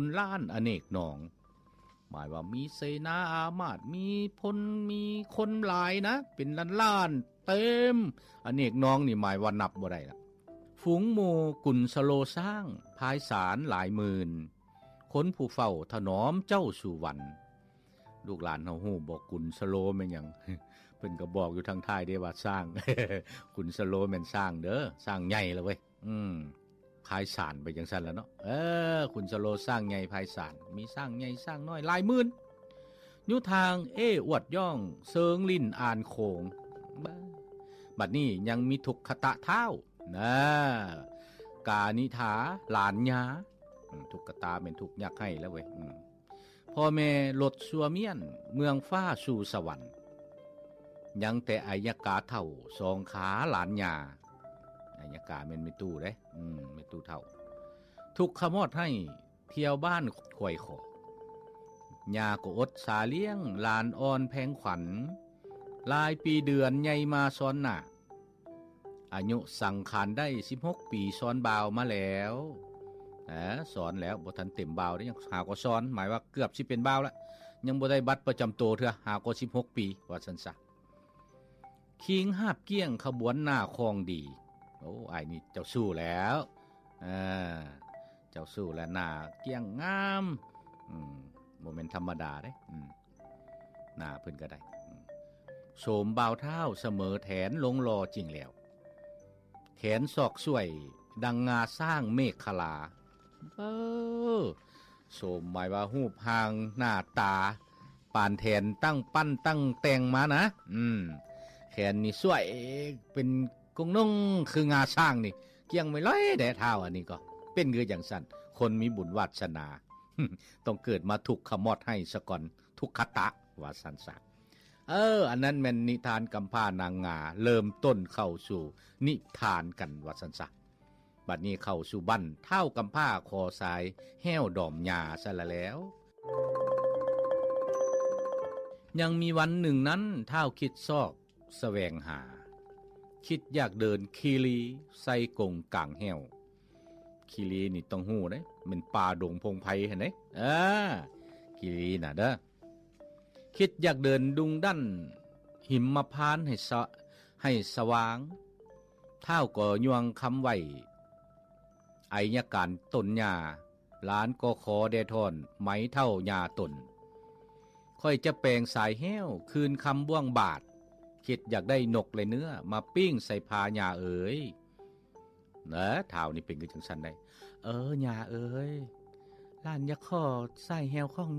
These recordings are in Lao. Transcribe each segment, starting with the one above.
ນລ້ານອະເນກໜອງ ໝາຍວ່າມີເສນາອາມາດ ມີພົນ ມີຄົນຫຼາຍນະ ເປັນລ້ານໆ ເຕັມອະເນກໜອງນີ້ ໝາຍວ່ານັບບໍ່ໄດ້ລະ. ຝູງໝູ່ກຸນສະໂລຊ້າງ ພາຍສານຫຼາຍໝື່ນ ຄົນຜູ້ເຝົ້າຖະໜອມເຈົ້າສູ່ວັນ. ລູກຫຼານເຮົາຮູ້ບໍ່ ກຸນສະໂລແມ່ນຫຍັງ? ເພິ່ນກໍບອກຢູ່ທາງທ້າຍເດ້ວ່າຊ້າງ ກຸນສະໂລແມ່ນຊ້າງເດີ ຊ້າງໃຫຍ່ລະເວີຍ. ອືມ ພາຍສານໄປຈັ່ງຊັ້ນລະເນາະ. ເອີ ຄຸນສະໂລຊ້າງໃຫຍ່ພາຍສານ ມີຊ້າງໃຫຍ່ຊ້າງນ້ອຍຫຼາຍໝື່ນ ຢູ່ທາງເອອວດຍ່ອງເຊີງລິ້ນອ່ານໂຂງ. ບາດນີ້ຍັງມີທຸກຂະຕະທ້າວນາ ການິຖາຫຼານຍາ. ອືມ ທຸກຂະຕະແມ່ນທຸກຍັກໄຫ້ລະເວີຍ. ອືມ ພໍ່ແມ່ລົດຊົ່ວມ້ຽນ ເມືອງຟ້າສູ່ສະຫວັນ. ຍັງແຕ່ໄອຍະກາເຖົ້າ ສອງຂາຫຼານຍ່າ. ໄອຍະກາແມ່ນແມ່ຕູ້ເດ້. ອືມ ແມ່ຕູ້ເຖົ້າ ທຸກຂະມອດໃຫ້ ທ່ຽວບ້ານຄວາຍຂໍ. ຍ່າກໍອົດສາລ້ຽງ ຫຼານອ່ອນແພງຂວັນ. ຫຼາຍປີເດືອນໃຫຍ່ມາຊ້ອນໜ້າ. ອາຍຸສັງຂານໄດ້ສິບຫົກປີ ສອນບ່າວມາແລ້ວ. ເອີ ສອນແລ້ວ ບໍ່ທັນເຕັມບ່າວເດ້ ຍັງຫາກໍສອນ ໝາຍວ່າເກືອບຊິເປັນບ່າວລະ ຍັງບໍ່ໄດ້ບັດປະຈຳໂຕເທື່ອ ຫາກໍສິບຫົກປີ ວ່າຊັ້ນຊະ. ຄີງຫາບກ້ຽງຂະບວນໜ້າຄອງດີ. ໂອ້ ອ້າຍນີ້ເຈົ້າຊູ້ແລ້ວ. ເອີ ເຈົ້າຊູ້ແລ້ວ ໜ້າກ້ຽງງາມ. ອືມ ບໍ່ແມ່ນທຳມະດາເດ້. ອືມ ໜ້າເພິ່ນກໍໄດ້. ອືມ ໂສມບ່າວທ້າວສະເໝີແຖນ ລົງຫຼໍ່ຈິງແລ້ວ. ແຂນສອກສວຍ ດັ່ງງາຊ້າງເມກຂະລາ. ເອີ ໂສມໝາຍວ່າຮູບຮ່າງໜ້າຕາ ປານແຖນຕັ້ງປັ້ນຕັ້ງແຕ່ງມານະ. ອືມ ແຂນນີ້ສວຍເປັນກົງນົງ ຄືງາຊ້າງນີ້ ກ້ຽງໄວ້ລອຍແດ່ທ້າວ. ອັນນີ້ກໍເປັນຄືຈັ່ງຊັ້ນ ຄົນມີບຸນວາດສະໜາ ຕ້ອງເກີດມາທຸກຂະມອດໃຫ້ສາກ່ອນ ທຸກຂະຕະ ວ່າຊັ້ນຊະ. ເອີ ອັນນັ້ນແມ່ນນິທານກຳພ້ານາງງາ ເລີ່ມຕົ້ນເຂົ້າສູ່ນິທານກັນ ວ່າຊັ້ນຊະ. ບັດນີ້ເຂົ້າສູ່ບັ້ນທ້າວກຳພ້າຂໍສາຍແຫ້ວດອມຫຍ້າຊະລະແລ້ວ. ຍັງມີວັນໜຶ່ງນັ້ນ ທ້າວຄິດຊອກສະແຫວງຫາ ຄິດຢາກເດີນຄີລີໃສ່ກົງກາງແຫ້ວ. ຄີລີນີ້ຕ້ອງຮູ້ເດ້ ແມ່ນປ່າດົງພົງໄພຫັ້ນເດ້. ເອີ ຄີລີນະເດີ. ຄິດຢາກເດີນດຸງດັນຫິມມະພານໃຫ້ສະ ໃຫ້ສະຫວ່າງ. ທ້າວກໍຍວງຄຳໄຫວ້ ໄອຍະການຕົນຍ່າ. ຫຼານກໍຂໍແດ່ທ່ອນ ໄໝເຖົ້າຍ່າຕົນ. ຂ້ອຍຈະແປງສາຍແຫ້ວຄືນຄຳບ້ວງບາດ. ຄິດຢາກໄດ້ນົກ ແລະ ເນື້ອ ມາປີ້ງໃສ່ຜ້າຍ່າເອີຍ. ເອີ ທ້າວນີ້ເປັນຄືຈັ່ງຊັ້ນໄດ໋. ເອີ ຍ່າເອີຍ ຫຼານຢາກຂໍສາຍແຫ້ວຂອງ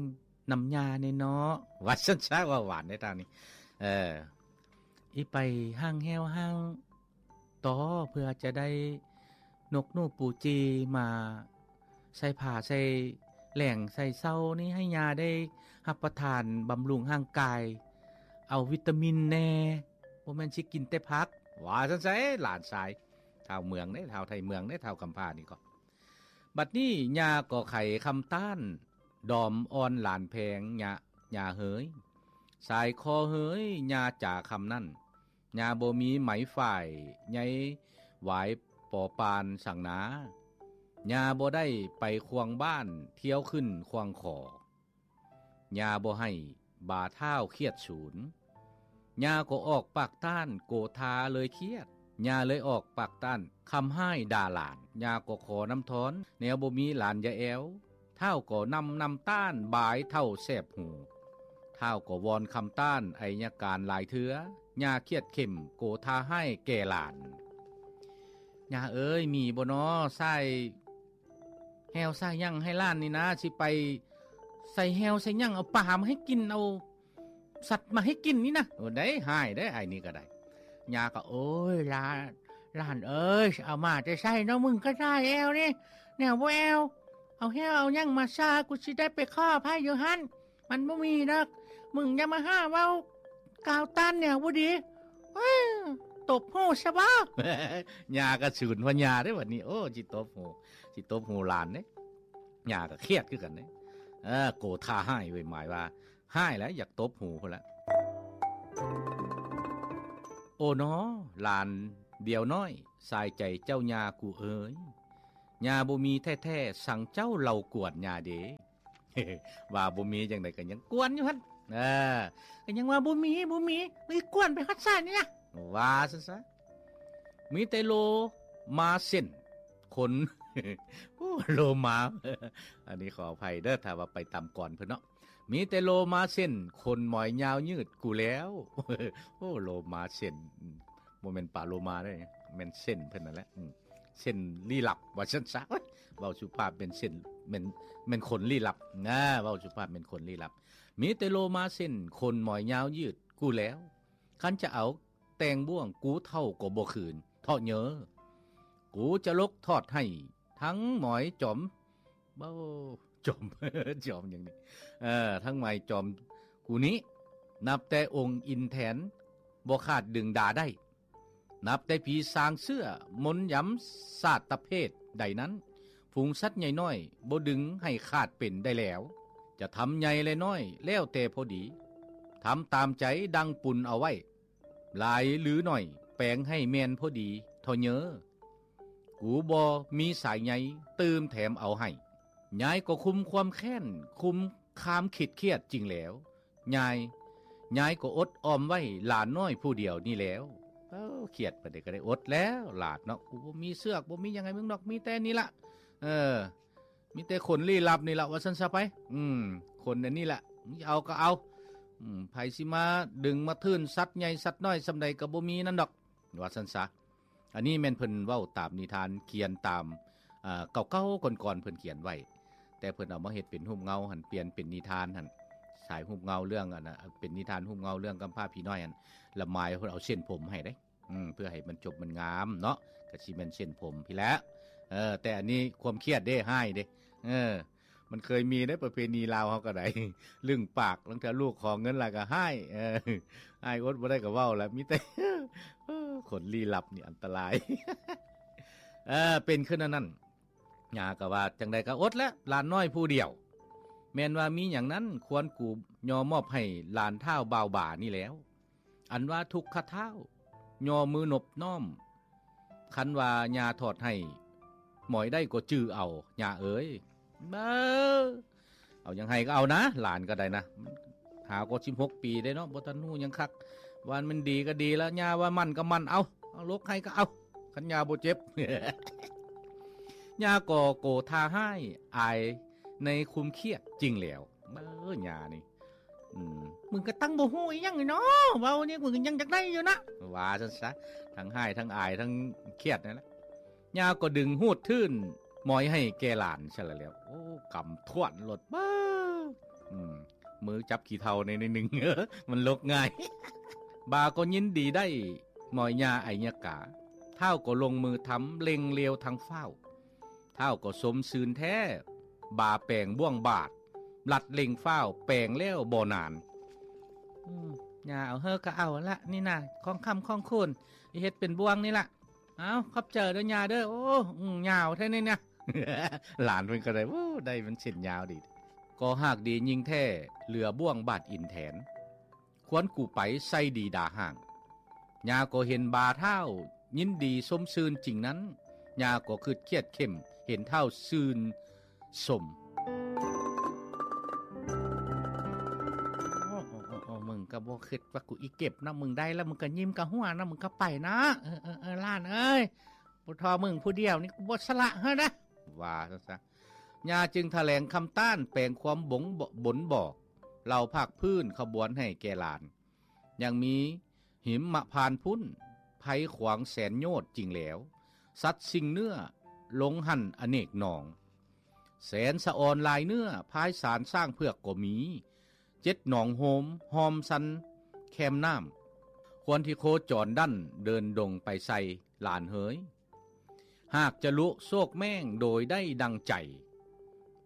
ນຳຍ່າແດ່ເນາະ ວ່າຊັ້ນຊະ. ເວົ້າຫວານເດ້ທ້າວນີ້. ເອີ ອີ່ໄປຫ້າງແຫ້ວຫ້າງຕໍ ເພື່ອຈະໄດ້ນົກໜູປູຈີມາໃສ່ຜາໃສ່ແຫຼງໃສ່ເຊົານີ້ ໃຫ້ຍ່າໄດ້ຮັບປະທານບຳລຸງຮ່າງກາຍ ເອົາວິຕາມິນແດ່ ບໍ່ແມ່ນຊິກິນແຕ່ຜັກ ວ່າຊັ້ນໄສ. ຫຼານຊາຍ ທ້າວເມືອງເດ້ ທ້າວໄທເມືອງເດ້ ທ້າວກຳພ້ານີ້ກໍ. ບັດນີ້ຍ່າກໍໄຂຄຳຕ້ານ ດອມອ່ອນຫຼານແພງ ຍ່າ ຍ່າເຮີຍ ສາຍຄໍເຮີຍ ຍ່າຈາຄຳນັ້ນ. ຍ່າບໍ່ມີໄໝຝ້າຍໃຍຫວາຍປໍປານສັງນາ. ຍ່າບໍ່ໄດ້ໄປຄວາງບ້ານ ທ່ຽວຂຶ້ນຄວາງຂໍ. ຍ່າບໍ່ໃຫ້ບາທ້າວຄຽດສູນ. ຍ່າກໍອອກປາກຕ້ານ ໂກທາເລີຍຄຽດ. ຍ່າເລີຍອອກປາກຕ້ານ ຄຳຮ້າຍດ່າຫຼານ. ຍ່າກໍຂໍນ້ຳທອນ ແນວບໍ່ມີຫຼານຢ່າແອວ. ທ້າວກໍນຳນ້ຳຕ້ານບາຍເຖົ້າແສບຫູ. ທ້າວກໍວອນຄຳຕ້ານໄອຍະການຫຼາຍເທື່ອ. ຍ່າຄຽດເຂັ້ມ ໂກທາຮ້າຍແກ່ຫຼານ. ຍ່າເອີຍ ມີບໍ່ນໍ ສາຍແຫ້ວສາຍຫຍັງໃຫ້ຫຼານນີ້ນາ ຊິໄປໃສ່ແຫ້ວໃສ່ຫຍັງ ເອົາປາມາໃຫ້ກິນ ເອົາສັດມາໃຫ້ກິນນີ້ນະ. ໂອ້ ໄດ້ ຮ້າຍໄດ໋ ອ້າຍນີ້ກໍໄດ້. ຍ່າກໍ ໂອ້ຍ ຫຼານ ຫຼານເອີຍ ຊິເອົາມາແຕ່ໃສເນາະ ມຶງກໍສາຍແຫ້ວນີ້ ແນວບໍ່ແອວ ເອົາແຫ້ວເອົາຫຍັງມາຊາ ກູຊິໄດ້ໄປຂໍໃຜຢູ່ຫັ້ນ ມັນບໍ່ມີດອກ ມຶງຢ່າມາຫາເວົ້າກ່າວຕ້ານແນວບໍ່ດີ. ເອີຍ ຕົບຫູຊະບໍ. ຍ່າກໍສູນພະຍາເດ້ບັດນີ້ ໂອ້ ຊິຕົບຫູ ຊິຕົບຫູຫຼານເດ້. ຍ່າກໍຄຽດຄືກັນເດ້. ເອີ ໂກທາຮ້າຍເວີຍ ໝາຍວ່າຮ້າຍແລ້ວ ຢາກຕົບຫູພຸ້ນລະ. ໂອ້ນໍ ຫຼານດຽວນ້ອຍ ສາຍໃຈເຈົ້າຍ່າກູເອີຍ. ຍ່າບໍ່ມີແທ້ໆ ສັງເຈົ້າເລົ່າກວນຍ່າເດ. ວ່າບໍ່ມີຈັ່ງໃດກໍຍັງກວນຢູ່ຫັ້ນ. ເອີ ກໍຍັງວ່າບໍ່ມີ ບໍ່ມີ ໄປກວນໄປຮອດໃສນີ້ນະ ວ່າຊັ້ນຊະ. ມີແຕ່ໂລມາເສັ້ນ ຄົນ ໂອ້ ໂລມາ ອັນນີ້ຂໍອະໄພເດີ ຖ້າວ່າໄປຕາມກອນເພິ່ນເນາະ. ມີແຕ່ໂລມາເສັ້ນ ຂົນໝອຍຍາວຍືດກູແລ້ວ. ໂອ້ ໂລມາເສັ້ນ ບໍ່ແມ່ນປາໂລມາເດ້ ແມ່ນເສັ້ນເພິ່ນນັ້ນແຫຼະ ເສັ້ນລີ້ລັບວ່າຊັ້ນຊະ. ເວົ້າສຸພາບແມ່ນເສັ້ນ ແມ່ນ ແມ່ນຂົນລີ້ລັບນະ ເວົ້າສຸພາບແມ່ນຂົນລີ້ລັບ. ມີແຕ່ໂລມາເສັ້ນ ຂົນໝອຍຍາວຍືດກູແລ້ວ. ຄັນຈະເອົາແຕ່ງບ້ວງ ກູເຖົ້າກໍບໍ່ຄືນ ເທາະເຍີ ກູຈະຫຼົກທອດໃຫ້ ທັງໝອຍຈອມ ເວົ້າ ຈອມ ຈອມຫຍັງນີ້ ເອີ ທັງໝອຍຈອມກູນີ້ ນັບແຕ່ອົງອິນແທນ ບໍ່ຂາດດຶງດາໄດ້ ນັບແຕ່ຜີສາງເຊື້ອ ມົນຢຳສາດຕະເພດໃດນັ້ນ ຝູງສັດໃຫຍ່ນ້ອຍ ບໍ່ດຶງໃຫ້ຂາດເປັນໄດ້ແລ້ວ. ຈະທຳໃຫຍ່ ແລະ ນ້ອຍ ແລ້ວແຕ່ພໍດີ ທຳຕາມໃຈດັ່ງປຸນເອົາໄວ້ ຫຼາຍຫຼືໜ້ອຍ ແປງໃຫ້ແມ່ນພໍດີເທາະເຍີ ກູບໍ່ມີສາຍໃຍ ຕື່ມແຖມເອົາໃຫ້. ຍາຍກໍຄຸມຄວາມແຄ້ນ ຄຸມຄວາມຄິດຄຽດຈິງແລ້ວ ຍາຍ ຍາຍກໍອົດອອມໄວ້ຫຼານນ້ອຍຜູ້ດຽວນີ້ແລ້ວ. ເອີ ຄຽດປານໃດກໍໄດ້ອົດແລ້ວຫຼານເນາະ ກູບໍ່ມີເຊືອກ ບໍ່ມີຫຍັງໃຫ້ມຶງດອກ ມີແຕ່ນີ້ລະ ເອີ ມີແຕ່ຂົນລີ້ລັບນີ້ລະ ວ່າຊັ້ນຊະໄປ. ອືມ ຂົນອັນນີ້ລະ ເອົາກໍເອົາ ອືມ ໃຜຊິມາດຶງມາທຶນ ສັດໃຫຍ່ສັດນ້ອຍສ່ຳໃດກໍບໍ່ມີນັ້ນດອກ ວ່າຊັ້ນຊະ. ອັນນີ້ແມ່ນເພິ່ນເວົ້າຕາມນິທານ ຂຽນຕາມ ເອີ ເກົ່າໆ ກ່ອນໆ ເພິ່ນຂຽນໄວ້ ແຕ່ເພິ່ນເອົາມາເຮັດເປັນຮູບເງົາຫັ້ນ ປ່ຽນເປັນນິທານຫັ້ນ ສາຍຮູບເງົາເລື່ອງອັນນະ ເປັນນິທານຮູບເງົາເລື່ອງກຳພ້າຜີນ້ອຍຫັ້ນ ລະໝາຍເພິ່ນເອົາເສັ້ນຜົມໃຫ້ເດ້. ອືມ ເພື່ອໃຫ້ມັນຈົບມັນງາມເນາະ ກະຊິແມ່ນເສັ້ນຜົມພີ້ແຫຼະ. ເອີ ແຕ່ອັນນີ້ຄວາມຄຽດເດ້ ຮ້າຍເດ້ ເອີ ມັນເຄີຍມີເດ້ ປະເພນີລາວເຮົາກໍໄດ້ ລຶ້ງປາກ ລາງເທື່ອລູກຂໍເງິນລະກໍຮ້າຍ ເອີ ຮ້າຍອົດບໍ່ໄດ້ກໍເວົ້າລະ ມີແຕ່ ເອີ ຄົນລີ້ລັບນີ້ອັນຕະລາຍ ເອີ ເປັນຄືແນວນັ້ນ. ຍ່າກໍວ່າ ຈັ່ງໃດກໍອົດແຫຼະ ຫຼານນ້ອຍຜູ້ດຽວ ແມ່ນວ່າມີຫຍັງນັ້ນ ຄວນກູຍໍມອບໃຫ້ຫຼານທ້າວບ່າວບານີ້ແລ້ວ. ອັນວ່າທຸກຂະທ້າວຍໍມືນົບນ້ອມ ຄັນວ່າຍ່າທອດໃຫ້ໝອຍໄດ້ກໍຈື່ເອົາ ຍ່າເອີຍ. ເອີ ເອົາຫຍັງໃຫ້ກໍເອົານະ ຫຼານກໍໄດ້ນະ ຫາກໍສິບຫົກປີເດ້ເນາະ ບໍ່ທັນຮູ້ຫຍັງຄັກ ວ່າມັນດີກໍດີລະ ຍ່າວ່າໝັ້ນກໍໝັ້ນ ເອົາ ເອົາ ຫຼົກໃຫ້ກໍເອົາ ຄັນຍ່າບໍ່ເຈັບ. ຍ່າກໍໂກທາຮ້າຍອາຍໃນຄຸມຄຽດຈິງແລ້ວ ເອີ ຍ່ານີ້ ອືມ ມຶງກໍຕັ້ງບໍ່ຮູ້ອີ່ຫຍັງເນາະ ເວົ້ານີ້ມຶງຍັງຢາກໄດ້ຢູ່ນະ ວ່າຊັ້ນຊະ ທັງຮ້າຍທັງອາຍທັງຄຽດນັ້ນແຫຼະ. ຍ່າກໍດຶງຫູດທຶນໝອຍໃຫ້ແກ່ຫຼານຊະລະແລ້ວ ໂອ້ ກຳຖ້ວນໂລດ ບາ ອືມ ມືຈັບຂີ້ເຖົ້າໃນໜຶ່ງ ມັນຫຼົກງ່າຍ ບາກໍຍິນດີໄດ້ໝອຍຍ່າໄອຍະກາ ທ້າວກໍລົງມືທຳເລັ່ງລຽວທັງຟ້າວ ທ້າວກໍຊົມຊື່ນແທ້ ບາແປງບ້ວງບາດ ລັດເລັ່ງຟ້າວ ແປງແລ້ວບໍ່ນານ ອືມ ຍ່າເອົາເຮີກະເອົາລະ ນີ້ນະ ຂອງຄຳຂອງຄູນ ເຮັດເປັນບ້ວງນີ້ລະ ເອົາ ຂອບໃຈເດີຍ່າເດີ ໂອ້ ອືມ ຍາວແທ້ນີ້ນະ ຫຼານເພິ່ນກໍໄດ້ ໂອ້ ໄດ້ມັນເສັ້ນຍາວດີ ກໍຫາກດີຍິ່ງແທ້ ເຫຼືອບ້ວງບາດອິນແທນ ຄວນກູໄປໃສ່ດີດາຫ້າງ ຍ່າກໍເຫັນບ່າທ້າວຍິນດີຊົມຊື່ນຈິງນັ້ນ ຍ່າກໍຄຶດຄຽດເຂັ້ມ ເຫັນທ້າວຊື່ນຊົມ ໂອ້ ມຶງກໍບໍ່ຄຶດວ່າກູອີເກັບເນາະ ມຶງໄດ້ແລ້ວ ມຶງກໍຍິ້ມກະຫົວເນາະ ມຶງກໍໄປເນາະ ເອີ ເອີ ເອີ ຫຼານເອີຍ ບໍ່ທໍ່ມຶງຜູ້ດຽວນີ້ ກູບໍ່ສະຫຼະເຮີ້ນະ ວ່າຊັ້ນຊະ. ຍ່າຈຶ່ງຖະແຫຼງຄຳຕ້ານ ແປງຄວາມບົ່ງ ບົນບອກ ເລົ່າພາກພື້ນຂະບວນໃຫ້ແກ່ຫຼານ ຍັງມີຫິມມະພານພຸ້ນ ໄພຂວາງແສນໂຍດຈິງແລ້ວ ສັດຊິງເນື້ອ ລົງຫັ້ນອະເນກໜອງ ແສນສະອອນຫຼາຍເນື້ອ ພາຍສານຊ້າງເຜືອກກໍມີ ເຈັດໜອງໂຮມ ຮອມຊັນແຄມນ້ຳ ຄວນທີ່ໂຄຈອນດັ້ນ ເດີນດົງໄປໃສ່ ຫຼານເຮີຍ ຫາກຈະລຸໂຊກແມ່ງໂດຍໄດ້ດັ່ງໃຈ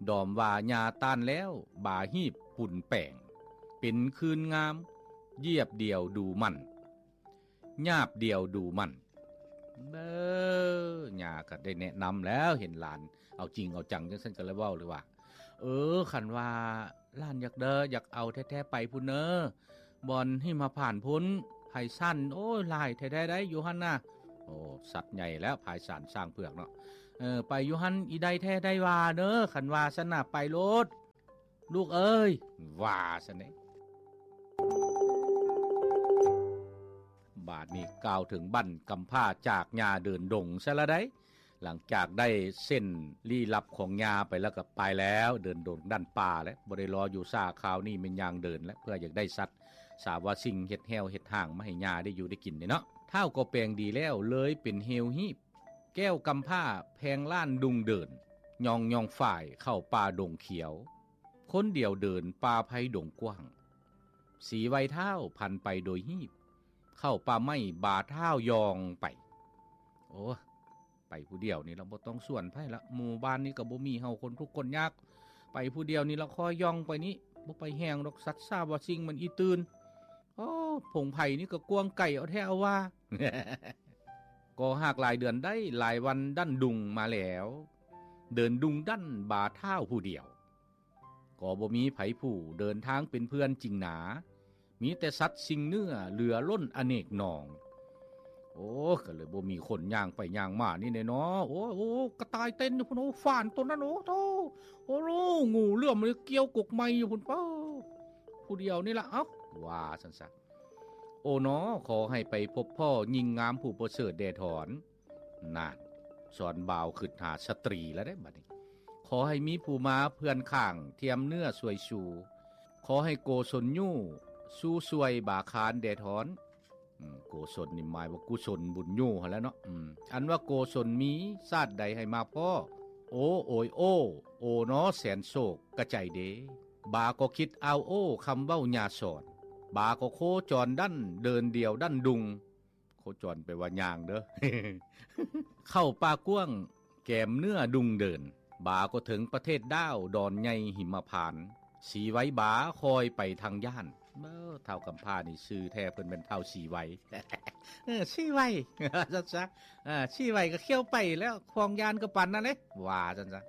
ດອມວ່າຍ່າຕ້ານແລ້ວ ບາຮີບປຸນແປງ ເປັນຄືນງາມ ຢຽບດຽວດູໝັ້ນ ຍາບດຽວດູໝັ້ນ ເອີ ຍ່າກໍໄດ້ແນະນຳແລ້ວ ເຫັນຫຼານເອົາຈິງເອົາຈັງຈັ່ງຊັ້ນ ກໍເລີຍເວົ້າເລີຍວ່າ ເອີ ຄັນວ່າຫຼານຢາກເດີ ຢາກເອົາແທ້ໆ ໄປພຸ້ນເນີ ບ່ອນຫິມມະພານພຸ້ນ ໄພສານ ໂອ້ຍ ຫຼາຍແທ້ໆ ໄດ໋ຢູ່ຫັ້ນນະ ໂອ້ ສັດໃຫຍ່ແລ້ວ ພາຍສານຊ້າງເຜືອກເນາະ ເອີ ໄປຢູ່ຫັ້ນອີໃດແທ້ໄດ້ວ່າເດີ ຄັນວ່າຊັ້ນນະ ໄປໂລດລູກເອີຍ ວ່າຊັ້ນເດ. ບາດນີ້ກ່າວເຖິງບັ້ນກຳພ້າຈາກຍ່າເດີນດົງຊະລະໃດ໋. ຫຼັງຈາກໄດ້ເສັ້ນລີ້ລັບຂອງຍ່າໄປແລ້ວກໍໄປແລ້ວ ເດີນດົງດັນປ່າແລ້ວ ບໍ່ໄດ້ລໍຢູ່ຊ້າ ຄາວນີ້ແມ່ນຍ່າງເດີນແລ້ວ ເພື່ອຢາກໄດ້ສັດສາວາສິ່ງເຮັດແຮ້ວເຮັດຮ່າງມາໃຫ້ຍ່າໄດ້ຢູ່ໄດ້ກິນເດ້ເນາະ. ທ້າວກໍແປງດີແລ້ວ ເລີຍເປັນເຮວຮີບ ແກ້ວກຳພ້າແຜງລ້ານດຸ່ງເດີນ ຍ່ອງຍ່ອງຝ້າຍເຂົ້າປ່າດົງຂຽວ ຄົນດຽວເດີນປ່າໄພດົງກວ້າງ ສີໄວທ້າວຜັນໄປໂດຍຮີບ ເຂົ້າປ່າໄມ້ບາທ້າວຍ່ອງໄປ. ໂອ້ ໄປຜູ້ດຽວນີ້ລະ ບໍ່ຕ້ອງຊວນໃຜລະ ໝູ່ບ້ານນີ້ກໍບໍ່ມີເຮົາ ຄົນທຸກຄົນຍາກ ໄປຜູ້ດຽວນີ້ລະ ຄ່ອຍຍ່ອງໄປນີ້ ບໍ່ໄປແຮງດອກ ສັດສາວາສິ່ງມັນອີ່ຕື່ນ. ໂອ້ ພົງໄພນີ້ກໍກວ້າງໄກເອົາແທ້ເອົາວ່າ. ກໍຫາກຫຼາຍເດືອນໄດ້ ຫຼາຍວັນດັນດຸ່ງມາແລ້ວ ເດີນດຸ່ງດັນບາທ້າວຜູ້ດຽວ ກໍບໍ່ມີໃຜຜູ້ເດີນທາງເປັນເພື່ອນຈິງໜາ ມີແຕ່ສັດສິ່ງເນື້ອເຫຼືອລົ້ນອະເນກໜອງ. ໂອ້ ກໍເລີຍບໍ່ມີຄົນຍ່າງໄປຍ່າງມານີ້ແນ່ເນາະ. ໂອ້ ໂອ້ ກະຕ່າຍເຕັ້ນຢູ່ພຸ້ນ ໂອ້ ຟານໂຕນັ້ນ ໂອ້ໂທ້ ໂອ້ໂລ ງູເຫຼື້ອມມັນກ່ຽວກົກໄມ້ຢູ່ພຸ້ນ ເປີ ຜູ້ດຽວນີ້ລະ ເອົ້າ ວ່າຊັ້ນຊະ. ໂອໜໍ ຂໍໃຫ້ໄປພົບພໍ້ຍິງງາມຜູ້ປະເສີດແດ່ຖອນ. ນານ ສອນບ່າວຄິດຫາສະຕຣີແລ້ວເດ້ບັດນີ້. ຂໍໃຫ້ມີຜູ້ມາເພື່ອນຂ້າງ ທຽມເນື້ອຊ່ວຍຊູ ຂໍໃຫ້ໂກສົນຍູ້ ຊູຊ່ວຍບາຄານແດ່ຖອນ. ອືມ ໂກສົນນີ້ໝາຍວ່າກຸສົນບຸນຍູ້ຫັ້ນແຫຼະເນາະ. ອືມ ອັນວ່າໂກສົນມີ ຊາດໃດໃຫ້ມາພໍ້. ໂອ ໂອຍ ໂອ ໂອໜໍ ແສນໂສກກະໃຈເດ ບາກໍຄິດອາວໂອ ຄຳເວົ້າຍ່າສອນ ບາກໍໂຄຈອນດັນ ເດີນດຽວດັນດຸ່ງ. ໂຄຈອນແປວ່າຍ່າງເດີ. ເຂົ້າປ່າກວ້າງ ແກມເນື້ອດຸ່ງເດີນ ບາກໍເຖິງປະເທດດາວ ດອນໃຫຍ່ຫິມະພານ ສີໄວບາຄອຍໄປທາງຢ້ານ. ເອີ ທ້າວກຳພ້ານີ້ຊື່ແທ້ເພິ່ນແມ່ນທ້າວສີໄວ ເອີ ສີໄວ ຊັ້ນຊະ. ເອີ ສີໄວກໍຂຽວໄປແລ້ວ ຄວາງຢ້ານກໍປານນັ້ນເດ້ ວ່າຊັ້ນຊະ.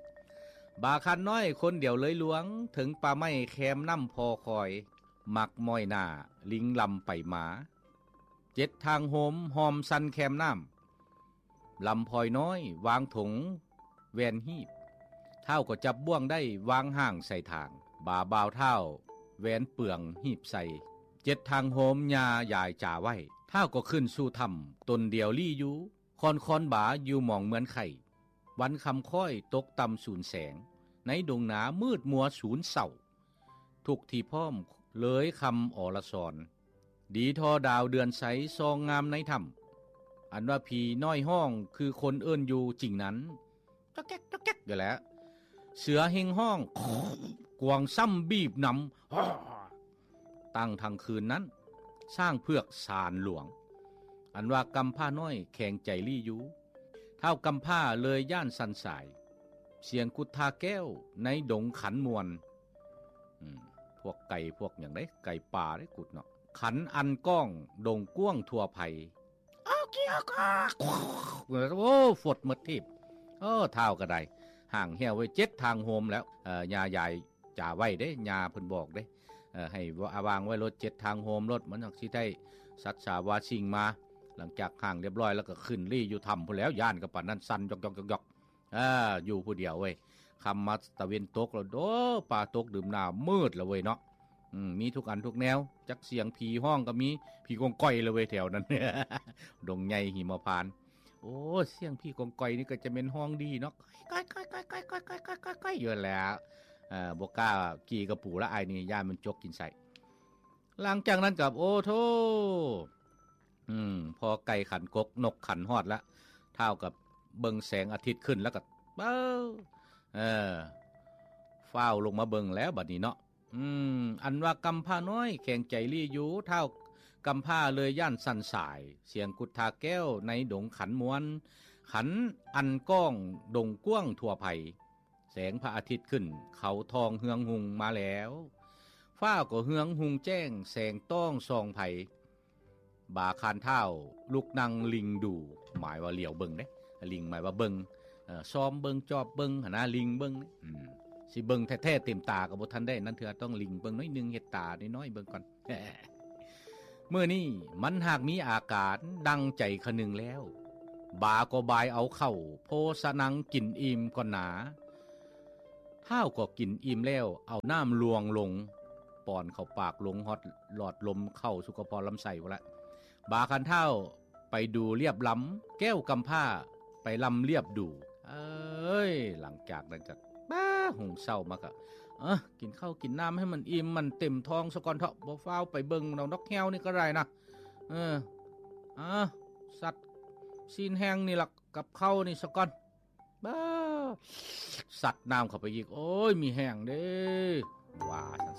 ບາຄານນ້ອຍຄົນດຽວເລີຍຫຼວງ ເຖິງປ່າໄມ້ແຄມນ້ຳພໍຄອຍ ມັກມ້ອຍໜ້າ ລິງລຳໄປມາ ເຈັດທາງໂຮມ ຫ້ອມຊັນແຄມນ້ຳ ລຳພອຍນ້ອຍ ວາງຖົງແວ່ນຮີບ ທ້າວກໍຈັບບ່ວງໄດ້ ວາງຮ່າງໃສ່ຖາງ ບາບ່າວທ້າວແວ່ນເປືອງຮີບໃສ່ ເຈັດທາງໂຮມ ຍ່າຢາຍຈາໄວ້ ທ້າວກໍຂຶ້ນສູ່ຖ້ຳ ຕົນດຽວລີ້ຢູ່ ຄອນຄອນບາຢູ່ໝອງເໝືອນໄຂ່ ວັນຄ່ຳຄ້ອຍຕົກຕ່ຳສູນແສງ ໃນດົງນາມືດມົວສູນເສົ້າ ທຸກທີ່ພ້ອມເລີຍຄຳອໍລະສອນ ດີທໍ່ດາວເດືອນໃສ ສ່ອງງາມໃນຖ້ຳ ອັນວ່າຜີນ້ອຍຮ້ອງ ຄືຄົນເອີ້ນຢູ່ຈິງນັ້ນ ຈອກແຈກຈອກແຈກຢູ່ແຫຼະ ເສືອເຮັງຮ້ອງ ກວາງຊ້ຳບີບນຳ ຕັ້ງທັງຄືນນັ້ນ ຊ້າງເຜືອກສານຫຼວງ ອັນວ່າກຳພ້ານ້ອຍແຂງໃຈລີ້ຢູ່ ທ້າວກຳພ້າເລີຍຢ້ານສັ່ນສາຍ ສຽງກຸດທາແກ້ວໃນດົງຂັນມ່ວນ ອືມ ພວກໄກ່ພວກຫຍັງເດ້ ໄກ່ປ່າເດ້ກຸດເນາະ ຂັນອັນກ້ອງດົງກວ້າງທົ່ວໄພ ອອກກີອອກອອກ ໂອ້ ຟົດໝົດທີບ ເອີ ທ້າວກໍໄດ້ ຮ່າງແຫ້ວໄວ້ເຈັດທາງໂຮມແລ້ວ ເອີ ຍ່າຢາຍຈາໄວ້ເດ້ ຍ່າເພິ່ນບອກເດ້ ເອີ ໃຫ້ວາ ວາງໄວ້ໂລດເຈັດທາງໂຮມໂລດ ມັນຈັ່ງຊິໄດ້ສັດສາວາສິ່ງມາ ຫຼັງຈາກຮ່າງລຽບຮ້ອຍແລ້ວກໍຂຶ້ນລີ້ຢູ່ຖ້ຳພຸ້ນແລ້ວ ຢ້ານກໍປານນັ້ນ ສັ່ນຢອກໆໆໆ ເອີ ຢູ່ຜູ້ດຽວເວີຍ ຄ່ຳມາຕາເວັນຕົກແລ້ວ ໂອ້ ຟ້າຕົກດຶມໜ້າມືດແລ້ວເວີຍເນາະ ອືມ ມີທຸກອັນທຸກແນວ ຈັກສຽງຜີຮ້ອງກໍມີ ຜີກອງກອຍແລ້ວເວີຍແຖວນັ້ນ ດົງໃຫຍ່ຫິມະພານ ໂອ້ ສຽງຜີກອງກອຍນີ້ກໍຈະແມ່ນຮ້ອງດີເນາະ ກອຍໆໆໆໆ ຢູ່ຫັ້ນແຫຼະ ເອີ ບໍ່ກ້າກີ່ກະປູລະ ອ້າຍນີ້ ຢ້ານມັນຈົກກິນໄສ້ ຫຼັງຈາກນັ້ນກໍ ໂອ້ໂທ້ ອືມ ພໍໄກ່ຂັນກົກ ນົກຂັນຮອດລະ ທ້າວກໍເບິ່ງແສງອາທິດຂຶ້ນລະກໍ ເອີ ເອີ ຟ້າວລົງມາເບິ່ງແລ້ວບັດນີ້ເນາະ ອືມ ອັນວ່າກຳພ້ານ້ອຍແຂງໃຈລີ້ຢູ່ ທ້າວກຳພ້າເລີຍຢ້ານສັ່ນສາຍ ສຽງກຸດທາແກ້ວໃນດົງຂັນມ່ວນ ຂັນອັນກ້ອງດົງກວ້າງທົ່ວໄພ ແສງພະອາທິດຂຶ້ນ ເຂົາທອງເຮືອງຮຸ່ງມາແລ້ວ ຟ້າກໍເຮືອງຮຸ່ງແຈ້ງ ແສງຕ້ອງສ່ອງໄພ ບາຄານທ້າວລຸກນັ່ງລິງດູ ໝາຍວ່າຫຼຽວເບິ່ງເດ້ ລິງໝາຍວ່າເບິ່ງ ເອີ ຊອມເບິ່ງ ຈອບເບິ່ງຫັ້ນນະ ລິງເບິ່ງ ອືມ ຊິເບິ່ງແທ້ໆເຕັມຕາກໍບໍ່ທັນໄດ້ນັ້ນເທື່ອ ຕ້ອງລິງເບິ່ງໜ້ອຍໜຶ່ງ ເຮັດຕານ້ອຍໆເບິ່ງກ່ອນ ມື້ນີ້ມັນຫາກມີອາການດັ່ງໃຈຄະນຶງແລ້ວ ບາກໍບາຍເອົາເຂົ້າໂພສະນັງກິນອີ່ມກ່ອນໜາ. ທ້າວກໍກິນອີ່ມແລ້ວ ເອົານ້ຳລວງລົງ ປ້ອນເຂົ້າປາກລົງຮອດຫຼອດລົມເຂົ້າສູ່ກະເພາະລຳໄສ້ພຸ້ນລະ. ບາຄັນທ້າວໄປດູລຽບລຳ ແກ້ວກຳພ້າໄປລຳລຽບດູ. ເອີຍ ຫຼັງຈາກນັ້ນກໍ ປ້າ ຫຸງເຊົ້າມາກໍ ເອີ ກິນເຂົ້າກິນນ້ຳໃຫ້ມັນອີ່ມມັນເຕັມທ້ອງສາກ່ອນເຖາະ ບໍ່ຟ້າວໄປເບິ່ງດອກ ນອກແຮ້ວນີ້ກໍໄດ້ນະ. ເອີ ອາ ສັດຊີ້ນແຫ້ງນີ້ລະ ກັບເຂົ້ານີ້ສາກ່ອນ. ບາ ສັດນ້ຳເຂົ້າໄປອີກ ໂອ້ຍ ມີແຮງເດ້ ວ່າຊັ້ນ